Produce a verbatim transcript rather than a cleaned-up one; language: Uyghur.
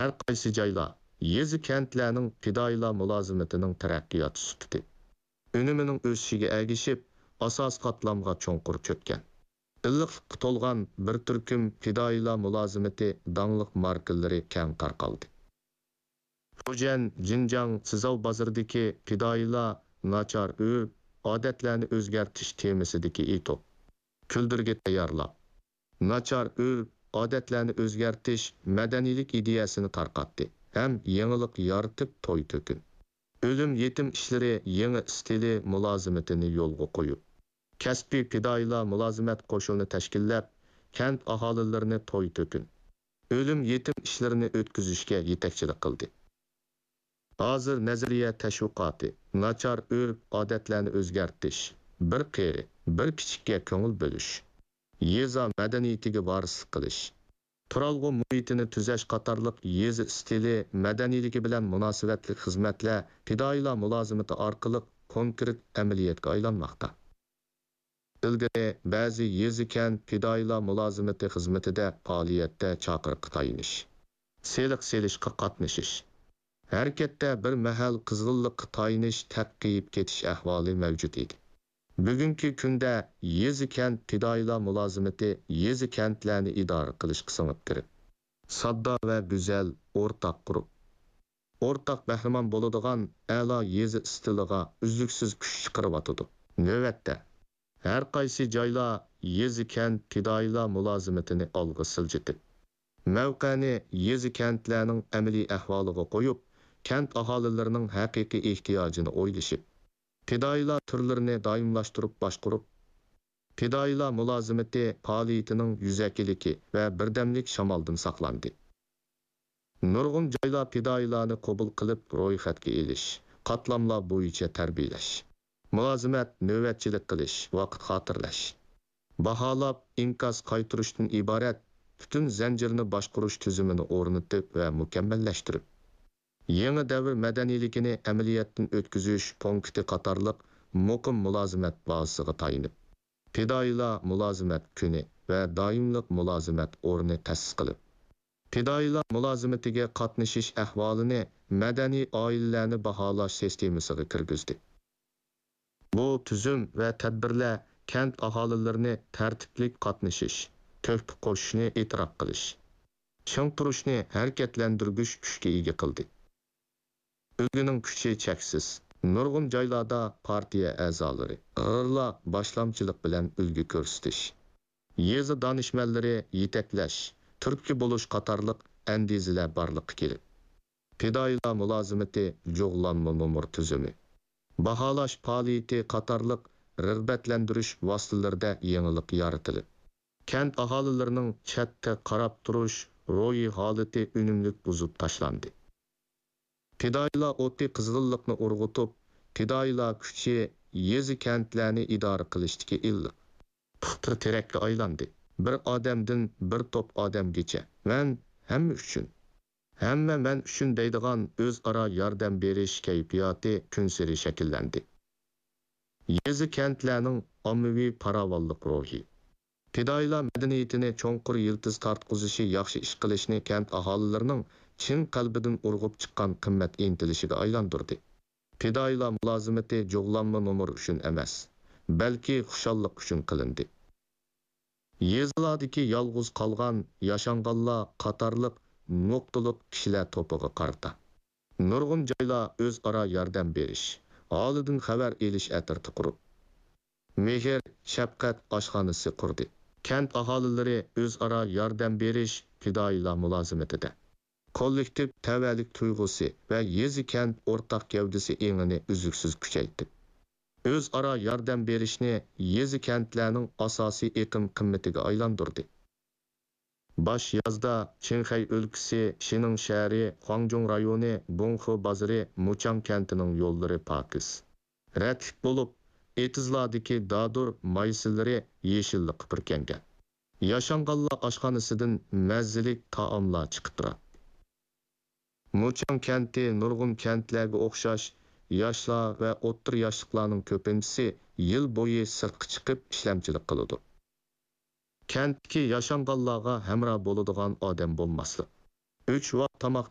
ھەر قايسى جايلار، يېزا-كەنتلەرنىڭ پىدائىيلار مۇلازىمىتىنىڭ تەرەققىيات سۈپىتى، ئۈنۈمىنىڭ ئۆسۈشىگە ئەگىشىپ، ئاساسىي قاتلامغا چوڭقۇر چۆككەن. ئىللىقلىققا تولغان بىر تۈركۈم پىدائىيلار مۇلازىمىتى داڭلىق ماركىلىرى كەڭ تارقالدى. فۇجيەن، جىنجاڭ، سىزاۋ بازىرىدىكى پىدائىيلار ناچار ئۆرپ-ئادەتلەرنى ئۆزگەرتىش تېمىسىدىكى ئېتوپ، كۈلدۈرگە تەييارلاپ، ناچار ئۆرپ-ئادەتلەرنى ئۆزگەرتىش مەدەنىيلىك ئىدىيەسىنى تارقاتتى ھەم يېڭىلىق يارىتىپ توي تۆكۈن، ئۆلۈم يېتىم ئىشلىرى يېڭى ئىستىلى مۇلازىمىتىنى يولغا قويۇپ، كەسپىي پىدائىيلار مۇلازىمەت قوشۇنى تەشكىللەپ، كەنت ئاھالىلىرىنى توي تۆكۈن، ئۆلۈم يېتىم ئىشلىرىنى ئۆتكۈزۈشكە يېتەكچىلىك قىلدى. ھازىر نەزەرىيە تەشۋىقاتى، ناچار ئۆرپ-ئادەتلەرنى ئۆزگەرتىش، بىر قېرى، بىر كىچىككە كۆڭۈل بۆلۈش، يېزا مەدەنىيىتىگە ۋارىسلىق قىلىش، تۇرالغۇ مۇھىتىنى تۈزەش قاتارلىق يېزا ئىستىلى مەدەنىيلىكى بىلەن مۇناسىۋەتلىك خىزمەتلەر پىدائىيلار مۇلازىمىتى ئارقىلىق كونكرېت ئەمەلىيەتكە ئايلانماقتا. ئىلگىرى بەزى يېزا-كەنت پىدائىيلار مۇلازىمىتى خىزمىتىدە پائالىيەتتە چاقىرىققا تايىنىش، سېلىق سېلىشقا قاتنىشىش، ھەرىكەتتە بىر مەھەل قىزغىنلىققا تايىنىش تەققىيىپ كېتىش ئەھۋالى مەۋجۇت ئىدى. بۈگۈنكى كۈندە يېزا-كەنت پىدائىيلار مۇلازىمىتى يېزا-كەنتلەرنى ئىدارە قىلىشقا سىڭىپ كىرىپ، ساددا ۋە گۈزەل ئورتاق قۇرۇپ، ئورتاق بەھرىمەن بولىدىغان ئەلا يېزا ئىستىلىغا ئۈزلۈكسىز كۈچ چىقىرىۋاتىدۇ. نۆۋەتتە، ھەر قايسى جايلار يېزا-كەنت پىدائىيلار مۇلازىمىتىنى ئالغا سىلجىتىپ، مەۋقەنى يېزا-كەنتلەرنىڭ ئەمەلىي ئەھۋالىغا قويۇپ، كەنت ئاھالىلىرىنىڭ ھەقىقىي ئېھتىياجىنى ئويلىشىپ، پىدائىيلار تۈرلىرىنى دائىملاشتۇرۇپ باشقۇرۇپ، پىدائىيلار مۇلازىمىتى پائالىيىتىنىڭ يۈزەكىلىكى ۋە بىردەملىك شامالدىن ساقلاندى. نۇرغۇن جايلار پىدائىيلارنى قوبۇل قىلىپ رويخەتكە ئېلىش، قاتلاملار بويىچە تەربىيەلەش، مۇلازىمەت، نۆۋەتچىلىك قىلىش، ۋاقىت خاتىرىلەش، باھالاپ ئىنكاس قايتۇرۇشتىن ئىبارەت پۈتۈن زەنجىرنى باشقۇرۇش تۈزۈمىنى ئورنىتىپ ۋە مۇكەممەللەشتۈرۈپ، يېڭى دەۋر مەدەنىيلىكىنى ئەمەلىيەتتىن ئۆتكۈزۈش پونكىتى قاتارلىق مۇقىم مۇلازىمەت بازىسىغا تايىنىپ، پىدائىيلار مۇلازىمەت كۈنى ۋە دائىملىق مۇلازىمەت ئورنى تەسىس قىلىپ، پىدائىيلار مۇلازىمىتىگە قاتنىشىش ئەھۋالىنى مەدەنىي ئائىلىلەرنى باھالاش سىستېمىسىغا كىرگۈزدى. بۇ تۈزۈم ۋە تەدبىرلەر كەنت ئاھالىلىرىنى تەرتىپلىك قاتنىشىش، تۆھپە قوشۇشنى ئېتىراپ قىلىش، چىڭ تۇرۇشنى ھەرىكەتلەندۈرگۈچ كۈچكە ئىگە قىلدى. ئۈلگىنىڭ كۈچى چەكسىز. نۇرغۇن جايلاردا پارتىيە ئەزالىرى، غىرلار باشلامچىلىق بىلەن ئۈلگە كۆرسىتىش، يېزا دانىشمەنلىرى يېتەكلەش، تۈرتكە بولۇش قاتارلىق ئەندىزىلەر بارلىققا كېلىپ، پىدائىيلار مۇلازىمىتى جۇغلانما نومۇر تۈزۈمى، باھالاش پائالىيىتى قاتارلىق رىغبەتلەندۈرۈش ۋاسىتىلىرىدە يېڭىلىق يارىتىلىپ، كەنت ئاھالىلىرىنىڭ چەتتە قاراپ تۇرۇش روھىي ھالىتى ئۈنۈملۈك بۇزۇپ تاشلاندى. پىدائىيلار ئوتى قىزغىنلىقنى ئۇرغۇتۇپ، پىدائىيلار كۈچى يېزا-كەنتلەرنى ئىدارە قىلىشتىكى ئىللىق پۇختا تىرەككە ئايلاندى. بىر ئادەمدىن بىر توپ ئادەمگىچە، مەن ھەممە ئۈچۈن، ھەممە مەن ئۈچۈن دەيدىغان ئۆزئارا ياردەم بېرىش كەيپىياتى كۈنسېرى شەكىللەندى. يېزا-كەنتلەرنىڭ ئاممىۋى پاراۋانلىق روھى، پىدائىيلار مەدەنىيىتىنى چوڭقۇر يىلتىز تارتقۇزۇشى ياخشى ئىش قىلىشنى كەنت ئاھالىلىرىنىڭ چىن قەلبىدىن ئۇرغۇپ چىققان قىممەت ئىنتىلىشىگە ئايلاندۇردى. پىدائىيلار مۇلازىمىتى جۇغلانما نومۇر ئۈچۈن ئەمەس، بەلكى خۇشاللىق ئۈچۈن قىلىندى. يېزىلاردىكى يالغۇز قالغان ياشانغانلار قاتارلىق نۇقتىلىق كىشىلەر توپىغا قارىتا نۇرغۇن جايلار ئۆزئارا ياردەم بېرىش، ھالىدىن خەۋەر ئېلىش ئەترىتى قۇرۇپ، مېھىر، شەپقەت ئاشخانىسى قۇردى. كەنت ئاھالىلىرى ئۆزئارا ياردەم بېرىش، پىدائىيلار مۇلازىمىتىدە كوللېكتىپ تەۋەلىك تۇيغۇسى ۋە يېزا-كەنت ئورتاق گەۋدىسى ئېڭىنى ئۈزلۈكسىز كۈچەيتتى. ئۆزئارا ياردەم بېرىشنى يېزا-كەنتلەرنىڭ ئاساسىي ئېقىم قىممىتىگە ئايلاندۇردى. باش يازدا چىڭخەي ئۆلكىسى شىنىڭ شەھىرى خۇاڭجۇڭ رايونى بۇڭخې بازىرى مۇچاڭ كەنتىنىڭ يوللىرى پاكىز، رەتلىك بولۇپ، ئېتىزلاردىكى دادۇر مايسىلىرى يېشىللىققا پۈركەنگەن. ياشانغانلار ئاشخانىسىدىن مەززىلىك تائاملار چىقىپ تۇراتتى. مۇچاڭ كەنتى نۇرغۇن كەنتلەرگە ئوخشاش ياشلار ۋە ئوتتۇرا ياشلىقلارنىڭ كۆپىنچىسى يىل بويى سىرتقا چىقىپ ئىشلەمچىلىك قىلىدۇ. كەنتتىكى ياشانغانلارغا ھەمراھ بولىدىغان ئادەم بولماسلىق، ئۈچ ۋاق تاماقنى